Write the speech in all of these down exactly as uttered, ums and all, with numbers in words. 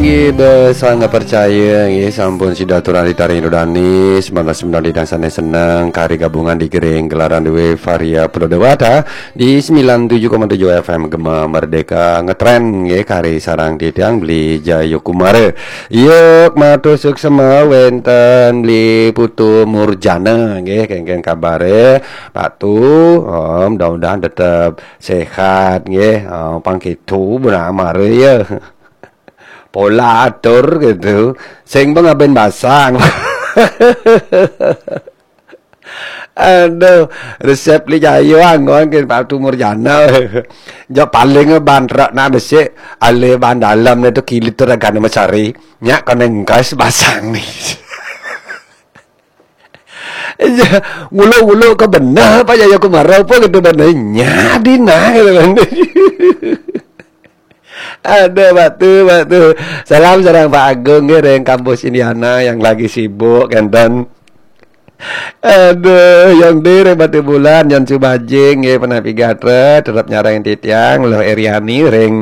Nggih, basa nggak percaya, nggih, sampun sida aturang ring Indradanis, malah semeton ida sane seneng kari gabungan di gering gelaran duwe Varia Pulau Dewata di sembilan tujuh koma tujuh F M Gema Merdeka ngetren, nggih, kari sareng titiang Beli Jayakumara. Yuk, matur suksema wenten Beli Putu Murjana, nggih, kengken kabare Patu, oh, mudah-mudahan tetep sehat, nggih, oh, pang kitu benar mare ya. Pola atur gitu. Sing pengaben basang. Aduh, resep li jayo anggon ke Patu Murjana. Jo paling ban truk nak besik, ale ban dalam ni tu kilit tu ragane mesari. Nyak kena engkas basang ni. Nguluk-nguluk ke benar apa Jayakumara apa gitu benar. Nya dina gitu kan. Ada batu, batu. Salam sareng Pak Agung nggih ring kampus Indiana yang lagi sibuk kenten. Aduh, yang di ring Batubulan, yang Subajing nggih, Penapi Gatra, tetep nyareng titiang, Luh Eriani ring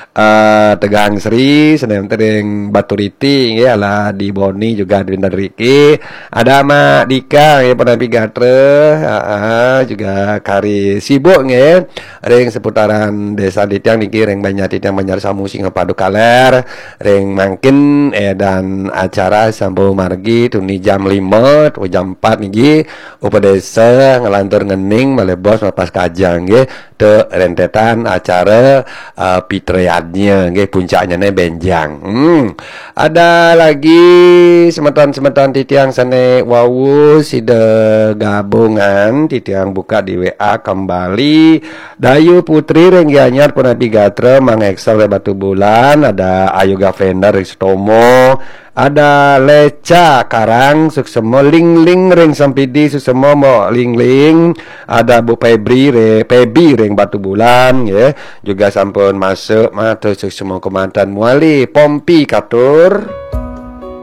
eh, Tegang Sri, senem ring Baturiti nggih, ala di Boni juga di Riki. Ada Mak Dika nggih, Penapi Gatra, heeh, juga kari sibuk nggih. Ring seputaran desa titiang niki ring Banjar titiang Banjar Samu Singapadu Kaler, ring mangkin eh dan acara sampun margi tuni jam lima, tuni jam empat niki upadesa ngelantur ngening malih bos melepas kajang nggih, te rentetan acara uh, pitrayadnya nggih, puncaknya ne benjang. Hmm. Ada lagi semeton-semeton titiang sane wau sida gabungan titiang buka di W A kembali. Dayu Putri ring Gianyar Penapi Gatra, Mang Excel ring Batubulan, ada Ayu Gavenda ring Sutomo, ada Leca Karang suksema, Ling Ling ring Sempidi suksema, Mbok Ling Ling, ada Bu Febri re, Febi ring Batubulan ya. Juga sampun masuk matur suksema kemanten Muali Pompi Katur.